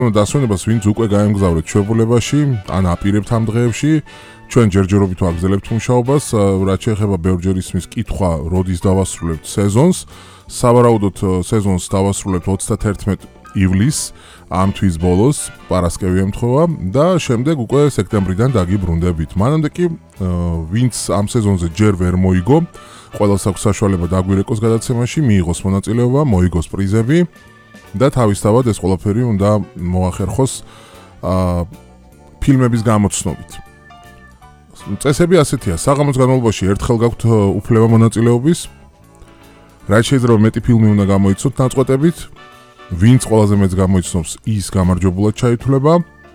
დასვენებას ვინც უკვე გაემგზავრეთ ჩვეულებაში, ან აპირებთ ამ დღეებში, ჩვენ ჯერჯერობით ვაგრძელებთ მუშაობას, რაც შეეხება ბევრჯერ ისმის კითხვა, როდის დავასრულებთ სეზონს. სავარაუდოდ სეზონს დავასრულებთ 31 ივლისს, ამ თვის ბოლოს, პარასკევი ემთხვევა და შემდეგ უკვე სექტემბრიდან დაგიბრუნდებით. მანამდე კი ვინც ამ სეზონზე ჯერ ვერ მოიგო, ყველას აქვს საშუალება დაგვირეკოს გადაცემაში, მიიღოს მონაწილეობა, მოიგოს პრიზები და თავისთავად ეს ყველაფერი უნდა მოახერხოს ფილმების გამოცნობით. წესები ასეთია, საღამოს განმავლობაში ერთხელ გაქვთ უფლება მონაწილეობის, რაც შეიძლება მეტი ფილმი უნდა გამოიცნოთ ნაწყვეტებით, ვინც ყველაზე მეტს გამოიცნობს, ის გამარჯვებულად ჩაითვლება,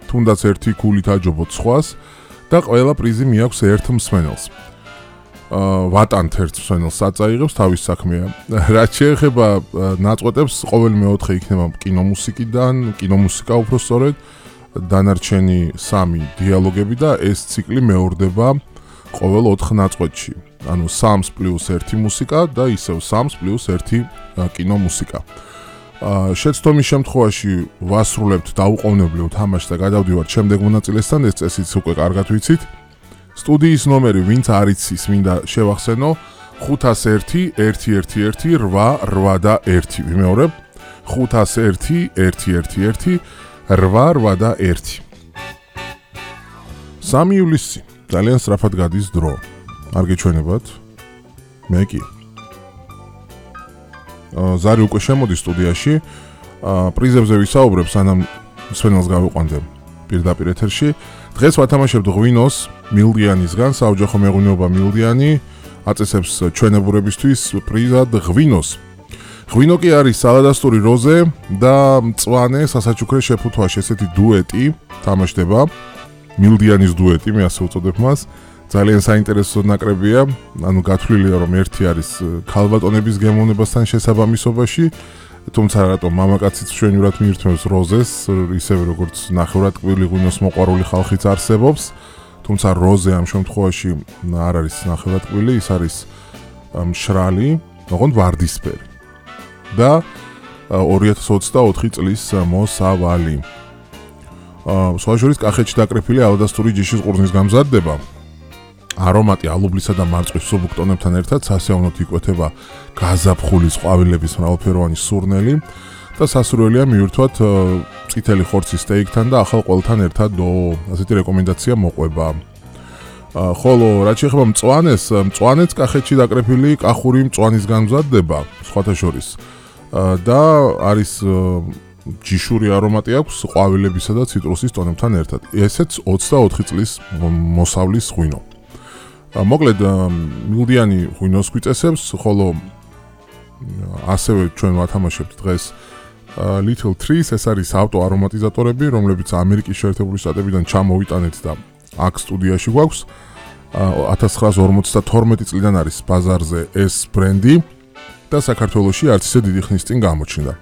თუნდაც ერთი ქულით აჯობოთ სხვას და ყველა პრიზი მიაქვს ერთ მსმენელს. ვატანთ ერთ მსმენელს საწაიღებს, თავის საქმეა. რაც შეეხება ნაწყვეტებს, ყოველი მეოთხე იქნება კინომუსიკიდან, კინომუსიკა უпростоრედ, დანარჩენი 3 დიალოგები და ეს ციკლი მეორდება ყოველ 4 ნაწყვეტში. ანუ 3 + 1 მუსიკა და ისევ 3 + 1 კინომუსიკა. შეცდომის შემთხვევაში ვასრულებთ დაუყოვნებლივ თამაშს და გადავდივართ შემდეგ მონაწილესთან, ეს წესიც უკვე კარგად ვიცით. სტუდიის ნომერი ვინც არ იცის, მინდა შევახსენო 501 111 8 და 1. ვიმეორებ 501 111 8 და 1. 3 ივლისი ძალიან სწრაფად გადის დრო. არ გეჩვენებათ? მე კი. ზარი უკვე შემოდის სტუდიაში. პრიზებზე ვისაუბრებ, სანამ მსმენელს გავიყვანებ პირდაპირ ეთერში. დღეს ვათამაშებთ ღვინოს მილდიანისგან, საოჯახო მეღვინეობა მილდიანი აწესებს ჩვენებურებისთვის პრიზად ღვინოს. ღვინო კი არის სალადასტური როზე და მწვანე სასაჩუქრე შეფუთვაში ესეთი დუეტი თამაშდება. მილდიანის დუეტი, მე ასე უწოდებ მას. ძალიან საინტერესო ნაკრებია, ანუ გათვლილია რომ ერთი არის ქალბატონების გემოვნებასთან შესაბამისობაში, თუმცა რატომ მამაკაციც ჩვენივრად მიირთმევს როზეს, ისევე როგორც ნახევრად ტკბილი ღვინოს მოყვარული ხალხიც არსებობს, თუმცა როზე ამ შემთხვევაში არ არის ნახევრად ტკბილი, ის არის მშრალი, ოღონდ ვარდისფერი და 2024 წლის მოსავალი. სხვა შორის კახეთში დაკრეფილი ალადასტური ჯიშის ყურძნის გამზადდება. არომატი ალუბლისა და მარწყვის სუბუქტონებთან ერთად სასიამოვნოდ იკვეთება გაზაფხულის ყვავილების მრავალფეროვანი სურნელი და სასურველია მიირთვათ წითელი ხორცის სტეიკთან და ახალ ყველთან ერთად ასეთი რეკომენდაცია მოყვება. ხოლო რაც შეეხება მწვანეც კახეთში დაკრეფილი კახური მწვანის გამზადდება სხვათა შორის და არის ჯიშური არომატი აქვს ყვავილებისა და ციტრუსის ტონებთან ერთად. ესეც 24 წლის მოსავლის ღვინო. მოკლედ მილდიანი ღვინოს გვიწესებს, ხოლო ასევე ჩვენ ვათამაშებთ დღეს Little Trees, ეს არის ავტო არომატიზატორები, რომლებიც ამერიკის შეერთებული შტატებიდან ჩამოვიტანეთ და აქ სტუდიაში გვაქვს. 1952 წლიდან არის ბაზარზე ეს ბრენდი და საქართველოში არც ისე დიდი ხნის წინ გამოჩნდა.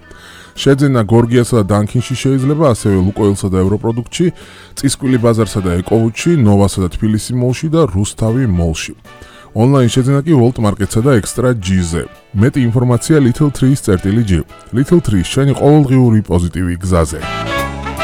შეძენა გორგიასა და დანკინში შეიძლება, ასევე ლუკოილსა და ევროპროდუქტში, წისკვილი ბაზარსა და ეკოვუჩში, ნოვასა და თბილისი მოლში და რუსთავი მოლში. ონლაინ შეძენა კი World Market-სა და Extra G-ზე. მეტი ინფორმაცია Little Trees.g. Little Trees, შენი ყოველდღიური პოზიტივი გზაზე.